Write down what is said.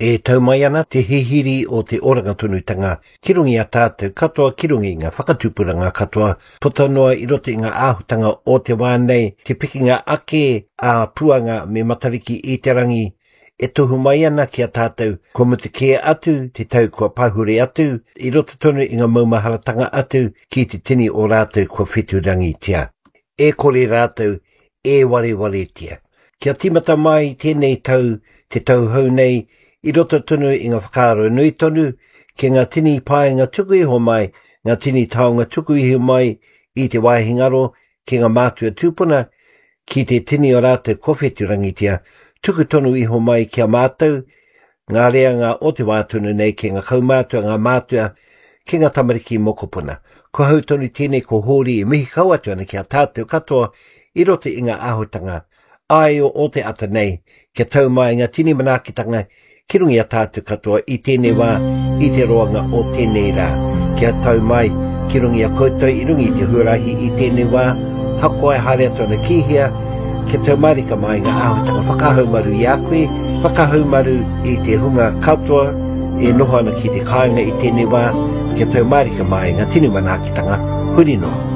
E tau mai ana te hihiri o te oranga tonutanga ki runga i a tātou katoa, ki runga i ngā whakatupuranga katoa, puta noa i roto i ngā āhutanga o te wā nei, te pikinga ake a Puanga me Matariki i te rangi, e tohu mai ana ki a tātou kua mutu kē atu te tau kua pahure atu, i roto tonu i ngā maumaharatanga atu ki te tini o rātou kua whetūrangitia. E kore rātou e warewaretia. Kia tīmata mai tēnei tau, te tau hou nei, i roto tonu i ngā whakaaro nui tonu ki ngā tini painga tuku iho mai, ngā tini taonga tuku iho mai i te wāhi ngaro ki ngā mātua tūpuna, ki te tini o rātou kua whetūrangitia, tuku tonu iho mai ki a mātou, ngā reanga o te wā tonu nei ki ngā kaumātua, ngā mātua, ki ngā tamariki mokopuna. Ko hau tonu tēnei ko Hōri e mihi kau atu ana ki a tātou katoa i roto i ngā āhutanga āio o te ata nei, kia tau mai ngā tini manaakitanga ki runga i a tātou katoa i tēnei wā, i te roanga o tēnei rā. Kia tau mai ki runga i a koutou i runga i te huarahi i tēnei wā, hakoa e haere atu ana ki hea, kia tau mārika mai ngā āhuatanga whakahaumaru i a koe, whakahaumaru i te hunga katoa e noho ana ki te kāinga i tēnei wā, kia tau mārika mai ngā tini manaakitanga huri noa.